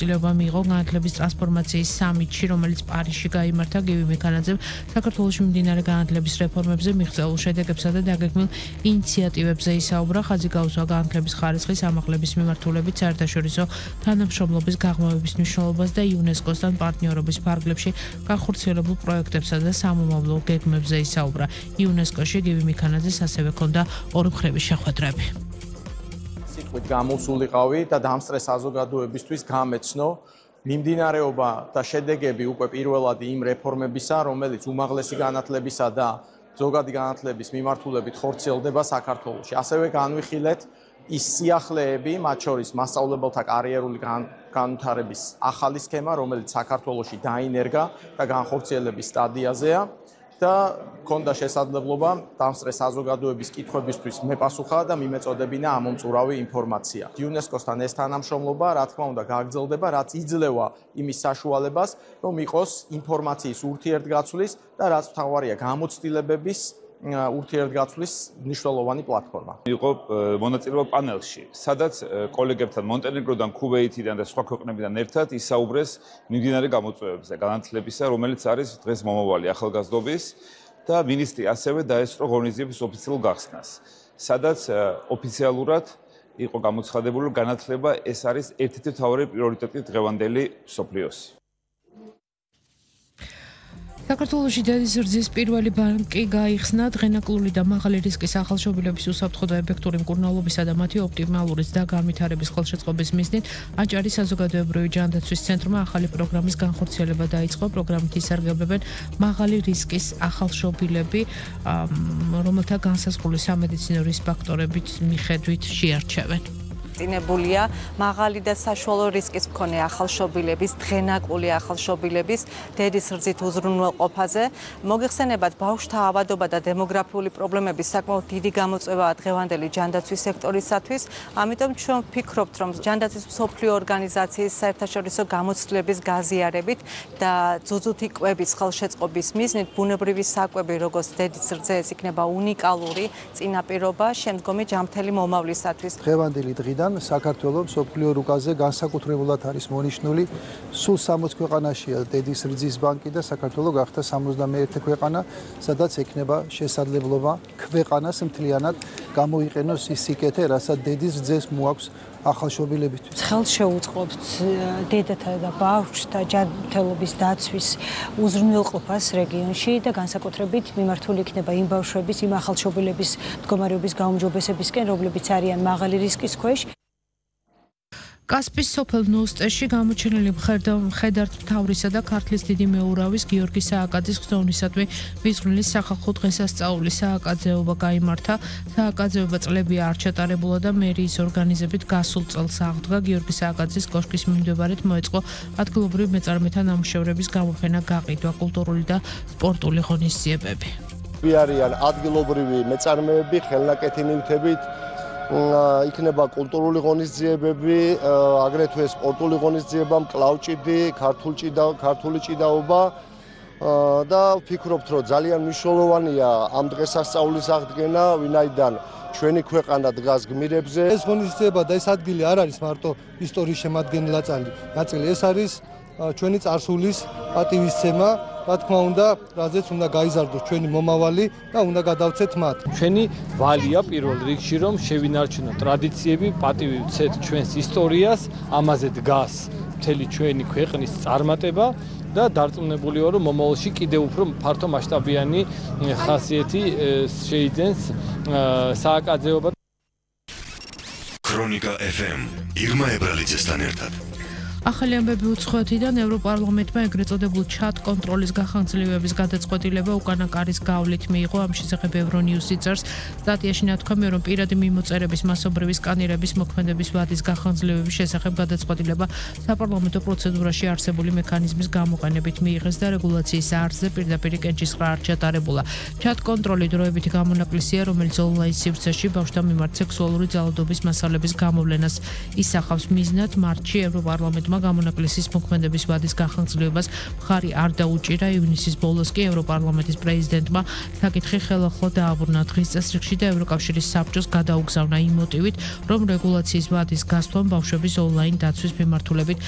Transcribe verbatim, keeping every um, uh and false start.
ცდილობა მიიღო განათლების ტრანსფორმაციის სამიტში, რომელიც პარიზში გაიმართა. გივი მექანაძემ საქართველოში მიმდინარე განათლების რეფორმებზე, მიღწეულ შედეგებსა და დაგეგმილ ინიციატივებზე ისაუბრა. ხაზი გაუსვა განათლების ხარისხის ამაღლების მიმართულებით საერთაშორისო თანამშრომლობის გაღრმავების მნიშვნელობას და იუნესკოსთან პარტნიორობის ფარგლებში განხორციელებულ პროექტებსა და სამომავლო გეგმებზე ისაუბრა. იუნესკოში გივი მექანაძეს ასევე ჰქონდა ორი მხრების შეხვედრები. სიტყვით გამოსულიყავი და დამსწრე საზოგადოებისთვის გამეცნო მიმდინარეობა და შედეგები უკვე პირველად იმ რეფორმებისა, რომელიც უმაღლესი განათლებისა და ზოგადი განათლების მიმართულებით ხორციელდება საქართველოში. ასევე განვიხილეთ ის სიახლეები, მათ შორის მასწავლებელთა კარიერული განვითარების ახალი სქემა, რომელიც საქართველოში დაინერგა და განხორციელების სტადიაზეა და ქონდა შესაძლებლობა დამსწრე საზოგადოების კითხვებისთვის მეპასუხა და მიმეწოდებინა ამომწურავი ინფორმაცია. იუნესკოსთან ეს თანამშრომლობა, რა თქმა უნდა, გაგრძელდება, რაც იძლევა იმის საშუალებას, რომ იყოს ინფორმაციის ურთიერთგაცვლის და რაც მთავარია გამოცდილებების ურთიერთგაცვლის მნიშვნელოვანი პლატფორმა. იყო მონაწილეობა პანელში, სადაც კოლეგებთან მონტენეგროდან, ქუვეითიდან და სხვა ქვეყნებიდან ერთად ისაუბრეს მიმდინარე გამოწვევებზე განათლებისა, რომელიც არის დღეს მომავალი ახალგაზრდობის და მინისტრი ასევე დაესწრო ღონისძიების ოფიციალურ გახსნას, სადაც ოფიციალურად იყო გამოცხადებული, რომ განათლება ეს არის ერთ-ერთი მთავარი პრიორიტეტი დღევანდელი მსოფლიოს. საქართველოში დედის რძის პირველი ბანკი გაიხსნა. დღენაკლული და მაღალი რისკის ახალშობილების უსაფრთხო და ეფექტური მკურნალობისა და მათი ოპტიმალური და განვითარების ხელშეწყობის მიზნით აჭარის საზოგადოებრივი ჯანდაცვის ცენტრმა ახალი პროგრამის განხორციელება დაიწყო. პროგრამით ისარგებლებენ მაღალი რისკის ახალშობილები, რომელთა განსაზღვრული სამედიცინო რისკ ფაქტორებით მიხედვით შეარჩევენ. წინებულია მაღალი და საშუალო რისკის მქონე ახალშობილების, დღენაკლული ახალშობილების დედის რძით უზრუნველყოფაზე. მოგეხსენებათ, ბავშვთა ავადობა და დემოგრაფიული პრობლემების საკმაოდ დიდი გამოწვევაა დღევანდელი ჯანდაცვის სექტორისათვის. ამიტომ ჩვენ ვფიქრობთ, რომ ჯანდაცვის მსოფლიო ორგანიზაციის საერთაშორისო გამოცდილების გაზიარებით და ძუძუთი კვების ხელშეწყობის მიზნით ბუნებრივი საკვები, როგორც დედის რძე, ეს იქნება უნიკალური წინაპირობა შემდგომი ჯანმრთელი მომავლისათვის. დღევანდელი დღიდან საქართველოს მსოფლიო რუკაზე განსაკუთრებულად არის მონიშნული. სულ სამოც ქვეყანაშია დედის რძის ბანკი და საქართველოს გახდა სამოცდამეერთე ქვეყანა, სადაც ექნება შესაძლებლობა ქვეყანას მთლიანად გამოიყენოს ის სიკეთე, რასაც დედის რძეს მოაქვს ახალშობილებისთვის. ხელს შეუწყობთ დედათა და ბავშვთა ჯანმრთელობის დაცვის უზრუნველყოფას რეგიონში და განსაკუთრებით მიმართული იქნება იმ ბავშვების, იმ ახალშობილების მდგომარეობის გაუმჯობესებისკენ, რომლებიც არიან მაღალი რისკის ქვეშ. კასპის სოფელ ნოსტეში გამოჩენილი მხედართ მთავრისა და ქართლის დიდი მეურავის გიორგი სააკაძის ხსოვნისადმი მისღვნილი სახალხო დღესასწაული სააკაძეობა გაიმართა. სააკაძეობა წლებია არ ჩატარებულა და მერიის ორგანიზებით გასულ წელს აღდგა. გიორგი სააკაძის კოშკის მიმდებარედ მოეწყო ადგილობრივ მეწარმეთა ნამუშევრების გამოფენა, გაყიდვა, კულტურული და სპორტული ღონისძიებები. არიან ადგილობრივი მეწარმეები, ხელნაკეთი ნივთებით, იქნება კულტურული ღონისძიებები, აგრეთვე სპორტული ღონისძიება, მკლავჭიდი, ქართული ჭიდაობა და ვფიქრობთ, რომ ძალიან მნიშვნელოვანია ამ დღესასწაულის აღდგენა, ვინაიდან ჩვენი ქვეყანა დგას გმირებზე. ეს ღონისძიება და ეს ადგილი არ არის მარტო ისტორიის შემადგენელი ნაწილი, ეს არის ჩვენი წარსულის პატივისცემა, რა თქმა უნდა, რაზეც უნდა გაიზარდოს ჩვენი მომავალი და უნდა გადავცეთ მათ. ჩვენი ვალია პირველ რიგში, რომ შევინარჩუნოთ ტრადიციები, პატივი ვცეთ ჩვენს ისტორიას, ამაზე დგას მთელი ჩვენი ქვეყნის წარმატება და დარწმუნებულია, რომ მომავალში კიდევ უფრო ფართო მასშტაბიანი ხასიათი შეიძენს სააკაძეობა. ქრონიკა ეფ ემ ირმა ებრალიძესთან ერთად. ახალი ამბები უცხოეთიდან ევროპარლამენტმა ეგრეთ წოდებულ ჩატ კონტროლის გახანგრძლივების გადაწყვეტილება უკანა კარის გავლით მიიღო. ამ შესახებ ევრონიუსი წერს. სტატიაში ნათქვამია, რომ პირადი მიმოწერების მასობრივი სკანირების მოქმედების ვადის გახანგრძლივების შესახებ გადაწყვეტილება საპარლამენტო პროცედურაში არსებული მექანიზმის გამოყენებით მიიღეს და რეგულაციის არხზე პირდაპირ კენჭისყრა არ ჩატარებულა. ჩატ კონტროლი დროებითი გამონაკლისია, რომელიც ონლაინ სივრცეში ბავშვთა მიმართ სექსუალური ძალადობის მასალების გამოვლენას ისახავს. მიზნად მარტში ევროპარლამენტ პრეზიდენტმა გამონაკლისის მოქმედების ვადის გახანგრძლივებას მხარი არ დაუჭირა. ივნისის ბოლოს კი ევროპარლამენტის პრეზიდენტმა საკითხი ხელახლა დააბრუნა. დღის წესრიგში და ევროკავშირის საბჭოს გადაუგზავნა იმ მოტივით, რომ რეგულაციის ვადის გასვლამ ბავშვების ონლაინ დაცვის მიმართულებით